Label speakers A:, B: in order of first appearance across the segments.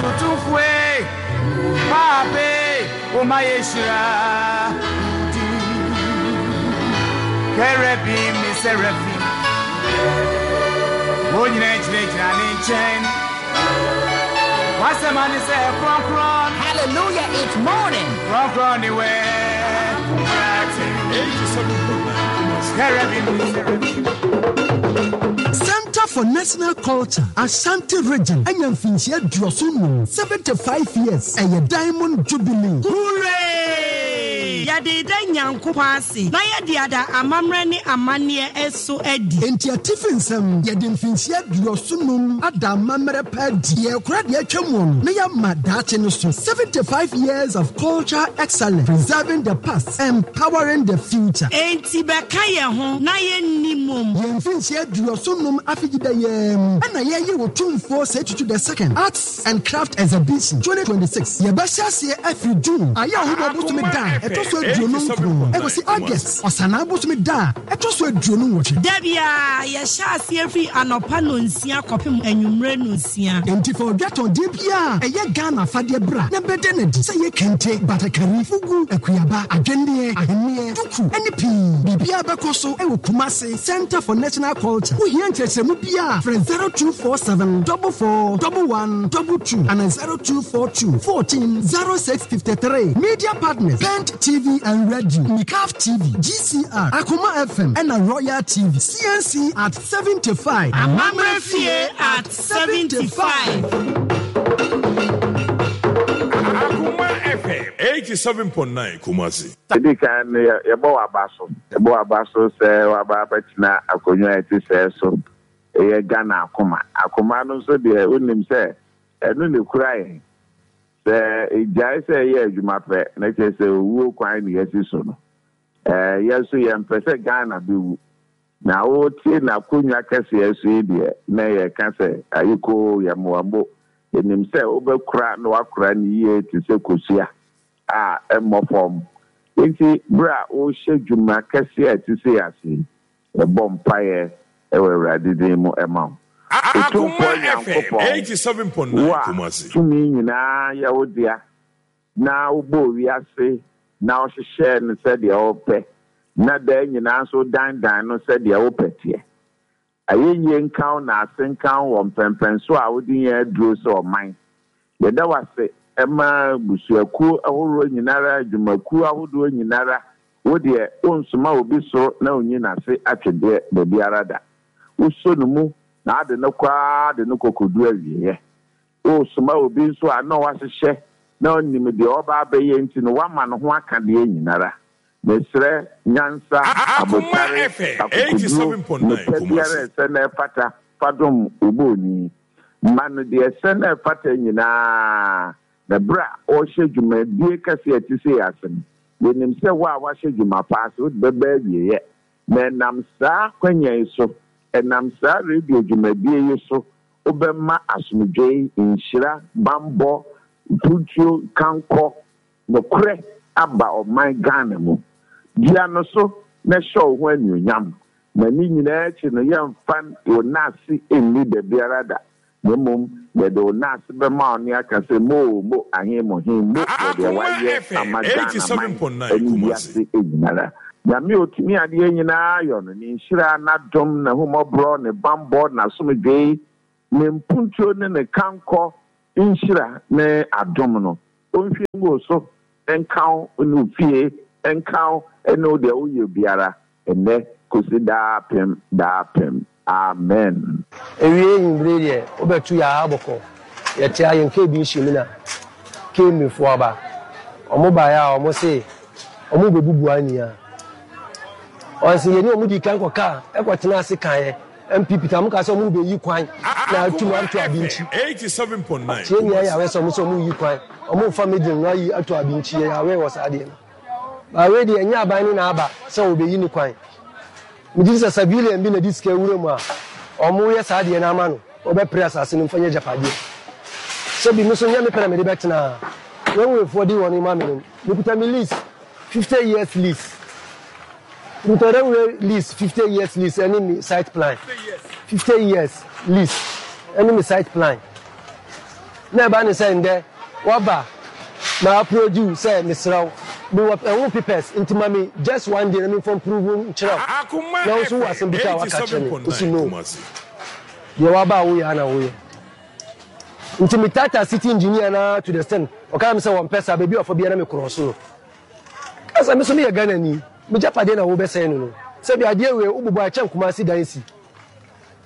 A: Otumfoɔ Paapa woma yɛhyira din. Kerubim ne Serafim wɔn nyinaa gyinagyina ne nkyɛn. W'asɛm ane sɛ kronkron.
B: Hallelujah, it's morning.
A: Kronkron ne wɛ. Kerubim ne Serafim.
C: Center for National Culture, Ashanti Region anya mfinhyia 75, 75 years, ɛyɛ Diamond Jubilee.
D: Hooray! Yɛde da Nyankopɔn ase na yɛde ada amammerɛ ne amanneɛ so adi.
C: Enti atifi nsɛm, yɛde mfinhyia 75 ada amammerɛ pa adi. Yɛrekora deɛ atwa mu no na yɛama daakye no so. 75 years of cultural excellence, preserving the past, empowering the future.
D: Enti bɛka yɛn ho na yɛnni mmom.
C: Yɛn mfinhyia 75 afegyida yi ara mu na yɛreyɛ Otumfoɔ Osei Tutu the Second Arts and Craft Exhibition 2026. Yɛbɛhyɛ aseɛ afiri June, Ayɛwohoma bosome da a ɛtɔ so 29 kɔsi August, Ɔsanaa bosome da a ɛtɔ so 28.
D: Da biara, yɛhyɛ aseɛ firi anɔpa nnɔnsia kɔpem anwummerɛ nnɔnsia.
C: Enti fa odwatɔndeɛ biara a ɛyɛ Ghana afadeɛ bra na bɛda no adi, sɛ ɛyɛ kente, batakari, fugu, akuaba, adwenneɛ, ahwenneɛ, duku, ne pii. Biribiara bɛkɔ so wɔ Kumasi Centre for National Culture. Wohia nkyerɛkyerɛmu biara a, frɛ 0247 44 11 22 anaa 0242 14 06 53. Media partners, Pent TV and Radio, Mikaf TV, GCR, Akoma FM, ɛna Royal TV. CNC at 75.
D: Amammerɛ Fie at 75.
E: Akoma FM 87.9 Kumasi.
F: Edi kan no, yɛbɔ w'aba so. Yɛbɔ w'aba so sɛ w'aba abɛtena akonnwa a ɛte sɛɛ so. Ɛyɛ Ghana akoma. Akoma no nso deɛ, wonim sɛ ɛno na ɛkura yɛn. Sɛ ɛgyae sɛ ɛyɛ adwuma pɛ, na kyerɛ sɛ owuo kwan na yɛasi so no. Ɛɛ, yɛn nso yɛmpɛ sɛ Ghana bɛwu. Na wote n'akonnwa kɛseɛ so yi deɛ, na yɛka sɛ, Ayekoo, yɛmmoa mmo. Yɛnim sɛ wobɛkora na woakora no yie te sɛ kosua a ɛmmɔ fam. Enti berɛ a worehyɛ dwuma kɛseɛ a ɛte sei ase yi, yɛbɔ mpaeɛ wɔ Awurade din mu ma wo.
E: Akoma
F: Otumfoɔ
E: FM
F: Nyankopɔn, wo
E: 87.9
F: a
E: Kumasi.
F: tumi nyinaa yɛ wo dea, na wobɔɔ wiase na wohyehyɛɛ no sɛdeɛ wopɛ, na daa nyinaa nso wodandan no sɛdeɛ wopɛ teɛ. Ayɛyie nka wo na ase nka wo wɔ mpɛnpɛnsoɔ a wode yɛn aduro sɛ ɔman. Yɛda wo ase ma abusuakuo ahoroɔ nyinara, adwumakuo ahodoɔ nyinara. Wo deɛ, wonsoma obi soro na ɔnyi n'ase atwedeɛ dabiara da. Wosɔ no mu na ade no kɔ ara de no kɔkɔdu awieɛ. Wosoma obi nso a na wahyehyɛ na ɔnim deɛ ɔreba abɛyɛ nti no wama ne ho aka deɛ nyinara. Mesrɛ nyansa,
E: Akoma
F: abotare,
E: FM
F: akokoduro,
E: 87.9
F: nnepa biara
E: Kumasi.
F: a ɛsɛ na ɛfata fa dom wo bɔɔni. Ma no deɛ ɛsɛ na ɛfata nyinaa, na berɛ a ɔrehyɛ dwumadie kɛseɛ a ɛte sei ase no, yɛnim sɛ wo a woahyɛ dwuma pa ase, wode bɛba awieɛ. Na ɛnam saa kwanya yi so, ɛnam saa radio dwumadie yi so, wobɛma asomdwoe, nhyira, bammɔ, mpuntuo, kankɔ, nokorɛ aba ɔman Ghana mu. Dua no so na hyɛ wo ho anuonyam. Na ne nyinaa akyi no, yɛmfa wo nnaase nni dabiara da, na mmom yɛde wo nnaase bɛma wo ne aka sɛ, Mo o, mo ahe mo he, mo wɔ deɛ
E: Akoma
F: wayɛ
E: FM
F: ama Ghana man
E: 87.9
F: ne
E: Kumasi.
F: wiase nyinara. Nyame a ɔtumi adeɛ nyinaa yɔ no, ne nhyira, n'adom, n'ahummɔborɔ, ne bammɔ, n'asomdwoe, ne mpuntuo ne ne kankɔ nhyira ne adom no, ɔnhwie ngu wo so, nka wo ne wo fie, nka wo ne wo deɛ woyɛ biara, ɛnnɛ kɔsi daapem daapem. Amen.
G: Ewie ewimbir yi deɛ wobɛto yɛ aha bɔkɔ. Yɛte ha yɛn KB nhyiam na KMA foɔ aba. Wɔn baeɛ a wɔn se wɔn rebɛbubu anwia. Wɔn se yɛne wɔn dii kan kɔkaa ɛkɔtena ase kaeɛ. NPP ta wɔn kaa sɛ wɔn rebɛyi kwan na atum
E: Akoma
G: ato
E: FM
G: Abinkyi.
E: 87.9
G: Tie nea
E: Kumasi.
G: yɛawɛ sɛ wɔn sɛ wɔn reyi kwan, wɔn refa middle no ayi ato Abinkyi. Yɛawɛ wɔ saa adeɛ no. But wei deɛ ɛnyɛ aban no na aba sɛ wɔbɛyi ne kwan. Megye di sɛ civilian bi na ɛde sika awura mu a wɔyɛ saa adeɛ no ama no, wɔbɛpere asase no mfa nyɛ agyapadeɛ. Sɛbi me nso nyɛ me pɛ na mede bɛtena ha. Railwayfoɔ de wɔn ma me no, mekuta me lease, 50 years lease. Mekuta railway lease, 50 years lease ɛne me site plan. 50 years lease ɛne me site plan. Na ɛba ne sɛ ndɛ waba ma approach wo sɛ mesrɛ wo mewɔ ɛho papers nti ma me just one day na memfa mprove nkyerɛ wo na wo nso wowɔ asɛm bi ka a waka akyerɛ me wo se no deɛ waba a woyɛ a na woyɛ nti me tata city engineer no ara to the extent ɔka kyerɛ me sɛ wɔmpɛ saa baabi a ɔfa biara na me cross no ka sɛ me nso meyɛ Ghana ni me gyapadeɛ na wobɛsɛe no no sɛbi adeɛ wei wobobɔ a ɛkyɛn Kumasi dan si.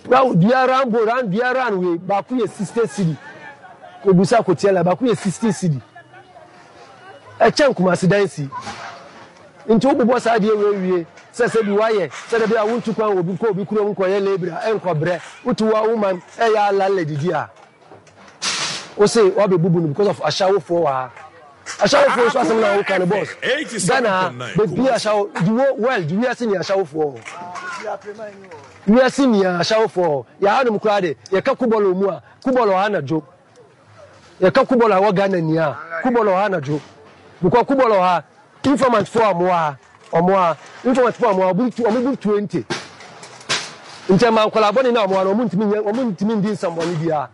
G: Round dua round bo round dua round wei baako yɛ 60 cedi kɔbusa kɔtia la baako yɛ 60 cedi ɛkyɛn Kumasi dan si nti wobobɔ saa adeɛ wei wie sɛ sɛ bi wayɛ sɛ da bi a wontu kwan wɔ obi kɔ obi kurom nkɔyɛ labor a ɛnkɔ brɛ wotu wa wo man ɛyɛ alalle didi a Wose wabɛbubu no because of ashawofoɔ wɔ ha. Ashawofoɔ nso asɛm na woka no boss. Ghana ha baabi ashawo the whole world wiase ni ashawofoɔ hɔ. Wiase ni ashawofoɔ hɔ. Yɛ hanom koraa de yɛka kubɔlɔ mu a kubɔlɔ ha na dwo. Yɛka kubɔlɔ a ɛwɔ Ghana ni a kubɔlɔ ha na dwo. Because kubɔlɔ ha Informant foɔ a wɔwɔ ha, wɔn a, informant foɔ a wɔwɔ ha, wɔn bu 20. Nti ɛma nkwadaa bɔne no a wɔwɔ ha no, wɔn ntumi nyɛ, wɔn ntumi ndi nsɛmbɔne biara.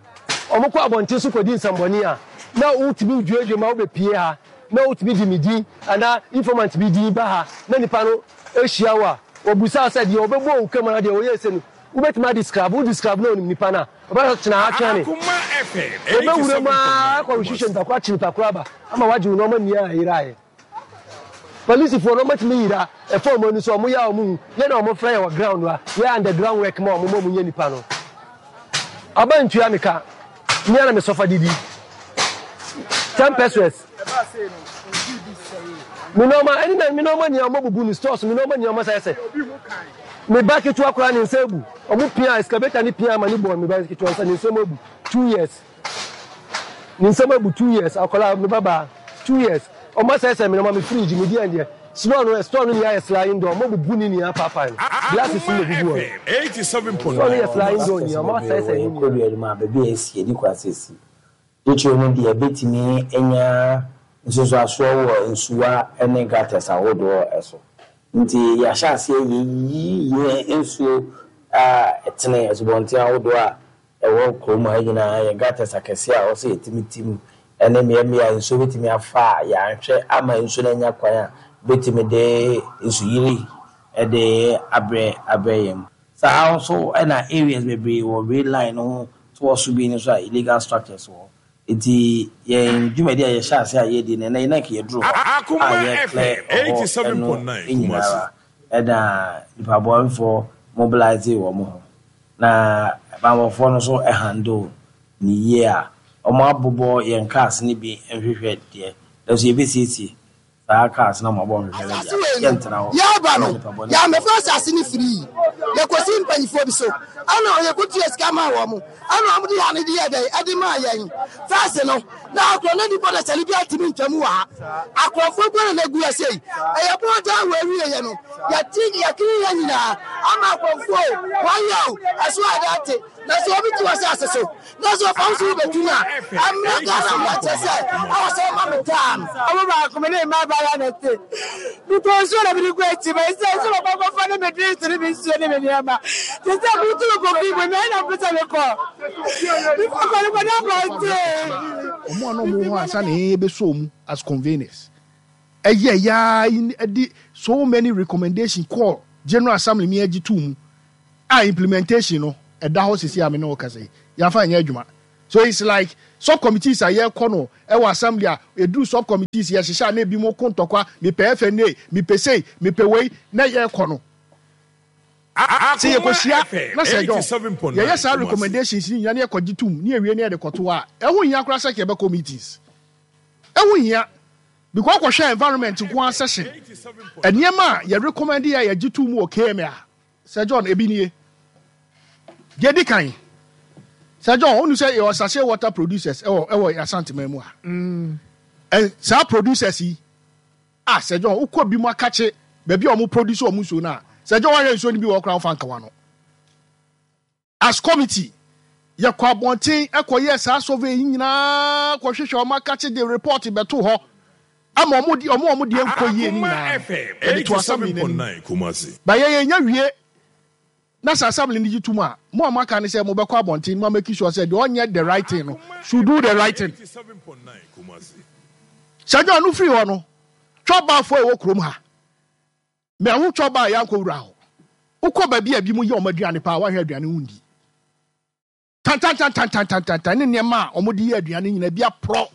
G: Wɔn kɔ abɔnten so kɔdi nsɛmbɔne a, na wotumi dwuadua ma wobɛpie ha, na wotumi de me din anaa informant bi din ba ha, na nipa no ahyia wo a, wɔbusa wo sɛ deɛ ɔbɛbɔ wo kam anaa deɛ ɔyɛɛ sei no, wobɛtumi adescribe, wo describe na onim nipa no a, ɔbɛka sɛ tena ha twɛn me. Wɔbɛwura mu ara akɔ rehwehwɛ nipa koro akye nipa koro aba ama wagye wo nneɛma nyinaa a ɛyeraeɛ. Polisifoɔ no wɔtumi yera ɛfa wɔn ani so, wɔyɛ a wɔhu, yɛ na wɔfrɛ yɛ wɔ ground a, yɛ underground work ma wɔn ma wɔnyɛ nipa no. Aba ntua me ka, me ara na me sɔfa didi. 10 pesos. Me nneɛma ɛne na me nneɛma nyinaa wɔn abubu no stores me nneɛma nyinaa wɔn asɛ sɛ. Me ba ketewa koraa ne nsa abu. Wɔn pia excavator ne pia ama ne bɔ me ba ketewa nsa ne nsam abu 2 years. Ne nsam abu 2 years akwadaa me ba baa 2 years. Wɔn asɛesɛe me nneɛma me fridge me deɛ deɛ store no store no nyinaa yɛ sliding door wɔn abubu ne nyinaa paapae no glasses no na egugu hɔ no. Store no yɛ sliding door nyinaa wɔn asɛesɛe ne nyinaa.
H: Kɔdua no mu a baabi a esi edi kwan sɛ esi. Titiriw no deɛ ebetumi anya nsunsuansoɔ wɔ nsuwa ne gutters ahodoɔ so. Nti yɛahyɛ aseɛ yɛyiyi yɛn nsuo a ɛtene, asubɔnten ahodoɔ a ɛwɔ kurom ha nyinaa, yɛn gutters akɛseɛ a ɛwɔ sɛ yɛtumi tim ne mmeammea a nsuo bɛtumi afa a yɛanhwɛ ama nsuo no anya kwan a bɛtumi de nsuyiri de abrɛ abrɛ yɛn. Saa ara nso na areas bebree wɔ rail line no ho toɔ so bi no nso a illegal structures wɔ hɔ. Nti yɛn dwumadi a yɛhyɛ ase a yɛredi no ɛnnɛ yi na nka yɛduru hɔ a yɛ clear ɛhɔ no nyina ara ɛna nipa bɔnefoɔ mobilise wɔn ho na banbɔfoɔ no nso handle no yie a wɔn abobɔ yɛn cars no bi nhwehwɛ deɛ nanso yɛbɛsiesie saa cars no a wɔabɔ nhwehwɛ no
I: Asase
H: deɛ
I: wei no,
H: yɛntena hɔ
I: yɛreba
H: ama
I: no,
H: nipa bɔnefoɔ.
I: yɛammɛfa asase no firii. Yɛkɔsii mpanimfoɔ bi so, ɛna yɛkɔtua sika maa wɔn, ɛna wɔde ha no de yɛɛ dɛn? Ɛde maa yɛn. First no, na akorɔ na nnipa dasani biara ntumi ntwa mu wɔ ha. Akorɔmfoɔ nko na na ɛgu ha sei. Ɛyɛ bɔɔdan wɔ awieeɛ no, yɛte yɛkene yɛn nyinaa ama akorɔmfoɔ o, wɔayɛ o, ɛso ayɛ dɛ ate. Na sɛ obi te w'asase so na sɛ ɔfa wo so wobɛtu no a, ɛmmra Ghana mmara kyerɛ sɛ ɛwɔ sɛ woma me taa no.
J: Ɔmo baako me ne mmabaawa na ɛte. Metɔ nsuo na mede gu akyi ma ɛsɛ nso mekɔ kɔfa ne me drinks ne me nsuo ne me nneɛma. Te sɛ metu me kɔ fi mu mɛ na mpɛ sɛ mekɔ. Mekɔ kɔ no kɔ na abɔnten.
K: Wɔn a na wɔwɔ hɔ ansa na yɛn yɛbɛsɔɔ mu as conveners ɛyɛ yaa ɛde so many recommendation kɔɔ General Assembly mi agye too mu a implementation no ɛda hɔ sisi a me ne wo kasa yi yɛafa nyɛ adwuma so it's like sub committees a yɛkɔ no ɛwɔ assembly a ɛduru sub committees yɛhyehyɛ a na ebi mo ko ntɔkwa mepɛ FNA mepɛ sei mepɛ wei na yɛkɔ no sɛ yɛkɔhyia na sɛ John yɛyɛ saa recommendations ni nyina na yɛkɔgye tom ne yɛwie ne yɛde kɔto a ɛho hia koraa sɛ yɛbɛkɔ meetings ɛho hia because kɔhwɛ environment nko ara session nneɛma a yɛ recommend yɛ a yɛgye tom wɔ KMA a Sir John, ebi nie. Deɛ edi kan, Sir John, wonu sɛ yɛwɔ sachet water producers ɛwɔ ɛwɔ Asanteman mu ha. Mm. Ɛ saa producers yi, ah Sir John, wokɔ bi mu akakye baabi a wɔn produce wɔn nsuo no a, Sir John wahwɛ nsuo no bi wɔ hɔ koraa wofa nkawa no. As committee, yɛkɔ abɔnten kɔyɛɛ saa survey yi nyinaa kɔhwehwɛ wɔn akakye de report bɛto hɔ ama wɔn de wɔn a wɔn deɛ nkɔ yie no nyinaa no, yɛde to assembly no anim. Ba yɛn yɛnya wie. Na sɛ assembly no gye tom a, mo a moaka ne sɛ mobɛkɔ abɔnten mo a make sure sɛ deɛ ɔnyɛ the right thing no should do the right thing. Sir John no firi hɔ no, twɔbafoɔ a ɛwɔ kurom ha, mahu twɔba a yɛankɔ wura hɔ. Wokɔ baabi a ebinom yɛ wɔn aduane paa, woahwɛ aduane wondi. Tantantantantantantan ne nneɛma a wɔde yɛ aduane nyinaa bi aporɔ.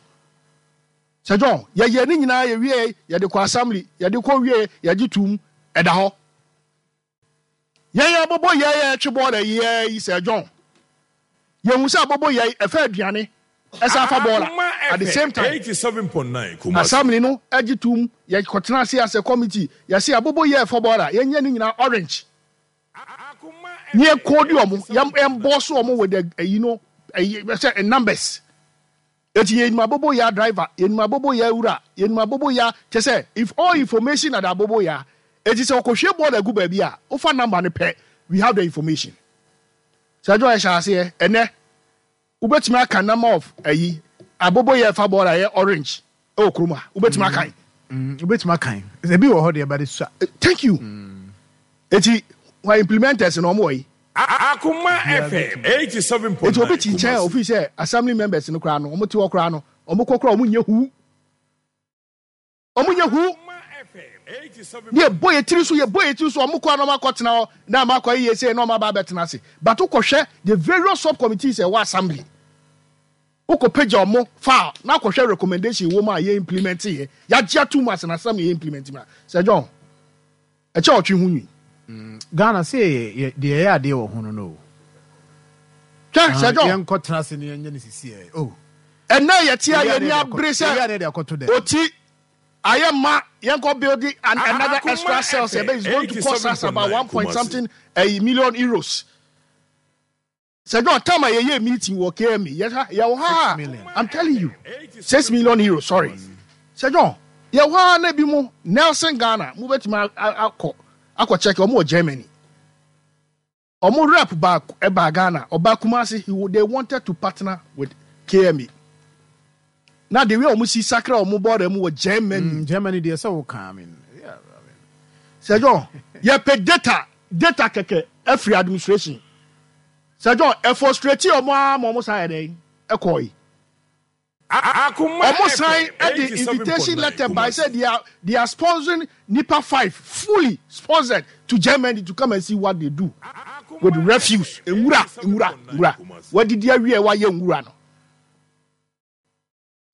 K: Sir John, yɛyɛ ne nyinaa yɛwie, yɛde kɔ assembly, yɛde kɔ wie, yɛgye tom, ɛda hɔ. Yɛn abobo yɛn a ɛtwe bɔɔla yi ara yi Sir John, yɛhu sɛ abobo yɛn ɛfa aduane ɛsan fa bɔɔla at the same time. Assembly no gye tom, yɛkɔtena ase as a committee, yɛse abobo yɛ ɛfa bɔɔla, yɛnyɛ ne nyinaa orange. Ne yɛ code wɔn, yɛn ɛmbɔɔso wɔn with the ɛyi no, ɛyi sɛ numbers. Eti yɛnim aboboyaa driver, yɛnim aboboyaa wura, yɛnim aboboyaa, kyerɛ sɛ if all information at aboboyaa, eti sɛ ɔkɔhwie bɔɔla gu baabi a, wofa number no pɛ, we have the information. Sir John ɛhyɛ aseɛ, ɛnɛ wobɛtumi aka number of ayi, aboboyaa ɛfa bɔɔla ɛyɛ orange ɛwɔ kurom ha, wobɛtumi akan.
L: Wobɛtumi akan, ebi wɔ hɔ deɛ but esua.
K: Thank you. Eti wɔn implementers no wɔn wɔ yi?
E: Akoma FM 87.9
K: Eti obi te nkyɛn a
E: Kumasi.
K: ofii sɛ assembly members no koraa no wɔn te hɔ koraa no wɔn kɔ koraa wɔn nyɛ huu. Wɔn nyɛ huu. Ne yɛbɔ yɛ tiri so yɛbɔ yɛ tiri so wɔn kɔ a na wɔn akɔ tena hɔ na wɔn akɔ yɛ sei na wɔn aba abɛtena ase. But wokɔ hwɛ the various sub committees ɛwɔ assembly. Wokɔ pagya wɔn file na akɔ hwɛ recommendation wɔ mu a yɛ implement yɛ. Yɛagye atum as an assembly yɛ implement ma. Sir John. Ɛkyɛ ɔtwe ho nwi.
L: Ghana sɛ yɛ deɛ yɛyɛ adeɛ wɔ ho no no o.
K: Hwɛ Sir John.
L: Yɛn kɔ tena ase ne yɛn nyɛ ne sisi ɛ oh.
K: Ɛnɛ yɛ te a yɛn ni abere sɛ oti ayɛ ma yɛn kɔ build an another extra cells ɛbɛ is going to cost us about 1 point something a million euros. Sir John, time a yɛyɛ meeting wɔ KMA, yɛ ha, yɛwɔ ha a, I'm telling you, €6 million, sorry. Sir John, yɛwɔ ha na ebi mo, Nelson Ghana, mo bɛtumi akɔ, akɔ check, ɔmo wɔ Germany. Ɔmo rep ba, ɛba Ghana, ɔba Kumasi, he, they wanted to partner with KMA. Na the way ɔmo si sakra ɔmo border mu wɔ Germany.
L: Germany deɛ sɛ wo ka, I mean, yeah, I mean.
K: Sir John, yɛpɛ data, data kɛkɛ afiri administration. Sir John, ɛ frustrate ɔmo ara ma ɔmo san yɛ dɛn? Ɛkɔɔe. Ɔmo san de invitation letter bae sɛ they are, they are sponsoring nipa 5, fully sponsored to Germany to come and see what they do with refuse. Nwura, nwura, nwura. Wadidi awie a wayɛ nwura no.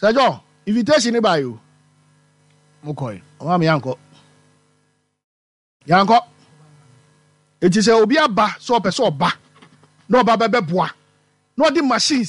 K: Sir John, invitation ne bae o.
L: Mo kɔe.
K: Ɔmo ama yɛankɔ. Yɛankɔ. Eti sɛ obi aba sɛ ɔpɛ sɛ ɔba na ɔba bɛbɛboa na ɔde machines.